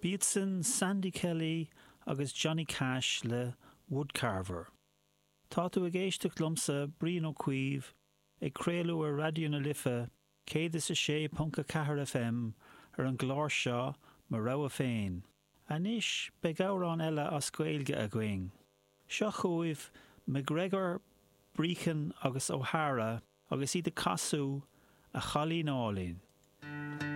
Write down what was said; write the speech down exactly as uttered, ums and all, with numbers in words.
B'iadsan Sandy Kelly agus Johnny Cash le Woodcarver. Tá tú ag éisteacht liomsa Brian Ó Cuív ag craoladh ar Raidió na Life céad is a sé ponc a ceathair FM ar an gclár seo Mo Rogha Féin. Anois beidh amhrán eile as Gaeilge againn. Seo chugaibh McGregor, Brechin agus O'Hara agus iad ag casadh A Chailín Álainn.